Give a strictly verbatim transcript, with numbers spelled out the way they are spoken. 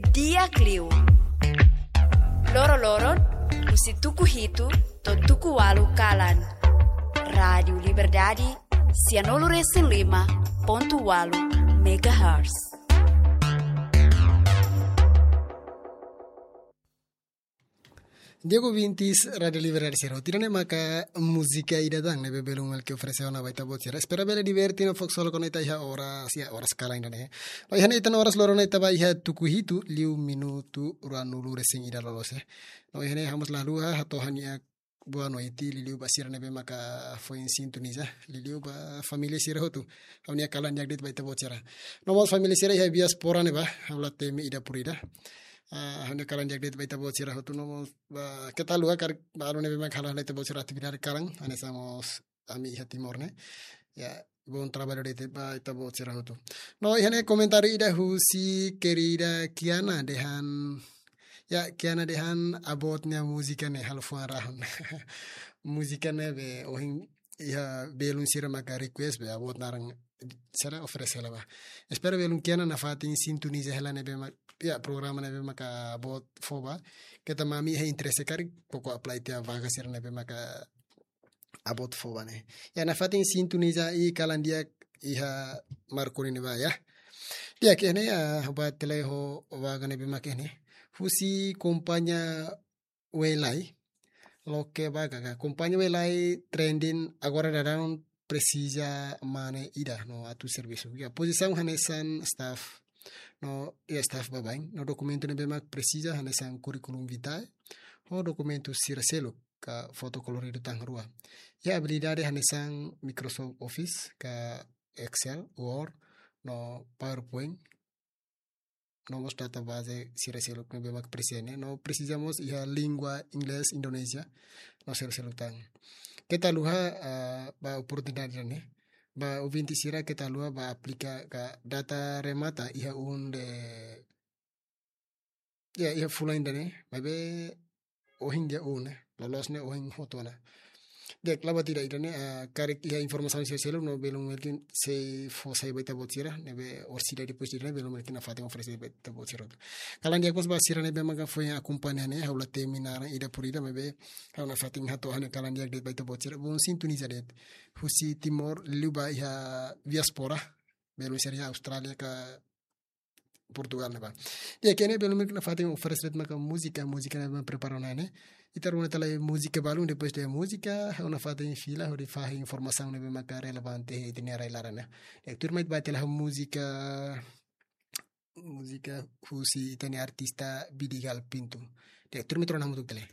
Di'ak liu. Loroloron, husi tuku hitu to'o tuku ualu kalan. Rádiu Liberdade, sianulu-resin-lima pontu ualu megahertz. Di'ak ouvintes Rádiu Liberdade sira, ida-ne'e maka múzika ida tan ne'ebé belun Melki oferese ona ba ita-boot sira. Espera bele diverte no fó ksolok ona ita iha oras, iha oras kalan ida-ne'e. No iha ne'e ita-nia oras loron ne'e ita ba iha tuku hitu liu minutu ruanulu-resin-ida loloos, eh. No iha ne'e ha'u mós la haluha hato'o ha'u-nia boa noite liuliu ba sira ne'ebé maka foin sintoniza, liuliu ba família sira hotu. Ha'u-nia kalan di'ak de'it ba ita-boot sira. No mós família sira iha diáspora ne'ebá, ha'u la temi ida por ida. Ah, ha'u-nia kalan di'ak de'it ba ita-boot sira hotu, no mós ba keta haluha karik balu ne'ebé maka halo hela ita-boot sira atividade kalan, hanesan mós ami iha Timor ne'e. Ya, bom trabalho de'it ba ita-boot sira hotu. No iha ne'e komentáriu ida husi kerida Kiana dehan, ya, Kiana dehan Aboot nia múzika ne'e halo fuan rahun. Múzika ne'ebé ohin iha belun sira maka request be Aboot naran sira oferese hela ba. Espera belun Kiana nafatin sintoniza hela ne'ebé ma-, ya, programa ne'ebé maka Aboot fó ba. Keta mak ami iha interese karik, koko apply tiha vaga sira ne'ebé maka Aboot fó ba ne'e. Ya, nafatin sintoniza i kalan di'ak iha Marconi ne'ebá, ya. Di'ak, iha ne'e, ah, ba tele ho vaga ne'ebé mak iha ne'e. Husi kompañia Welai. Loke vaga ka. Kompañia Welai trending agora daudaun presiza mane ida no atu servisu. Ya, pozisaun hanesan staff. No, ya, staff baibain. No dokumentu ne'ebé mak presiza hanesan curriculum vitae. Ho dokumentu sira seluk ka foto koloridu tan rua. Ya, abilidade hanesan Microsoft Office ka Excel, Word, no PowerPoint. No mós database sira seluk ne'ebé mak presiza ne'e. No presiza mós iha língua Inglés Indonézia. No sira seluk tan. Keta haluha, ah, ba oportunidade ne'e. Ba ouvinte sira keta haluha ba aplika ka data remata iha un de, ya, iha fulan ida-ne'e, maibé ohin dia un ne'e, loloos ne'e ohin hotu ona. Di'ak, la buat ida ida-ne'e, ah, karik iha informasaun sira seluk no belun Melki sei fó sai ba ita-boot sira, ne'ebé orsida depois ida-ne'e belun Melki nafatin oferese ba ita-boot sira. Kalan di'ak mós ba sira ne'ebé maka foin akompaña ne'e, ha'u la temi naran ida por ida, maibé ha'u nafatin hato'o ha'u-nia kalan di'ak de'it ba ita-boot sira. Bom sintoniza de'it. Husi Timor, liuliu ba iha diáspora, belun sira iha Austrália ka Portugal ne'ebá. Di'ak, iha ne'e belun Melki nafatin oferese de'it maka múzika, múzika ne'ebé prepara ona ne'e. Ita rona tiha lai múzika balun, depois de múzika, ha'u nafatin fila, hodi fahe informasaun ne'ebé maka relevante iha ita-nia rai laran ne'e. Di'ak, tuirmai ita ba tiha lai ho múzika, múzika husi ita-nia artista Vidigal Pinto. Di'ak, tuirmai ita rona hamutuk tiha lai.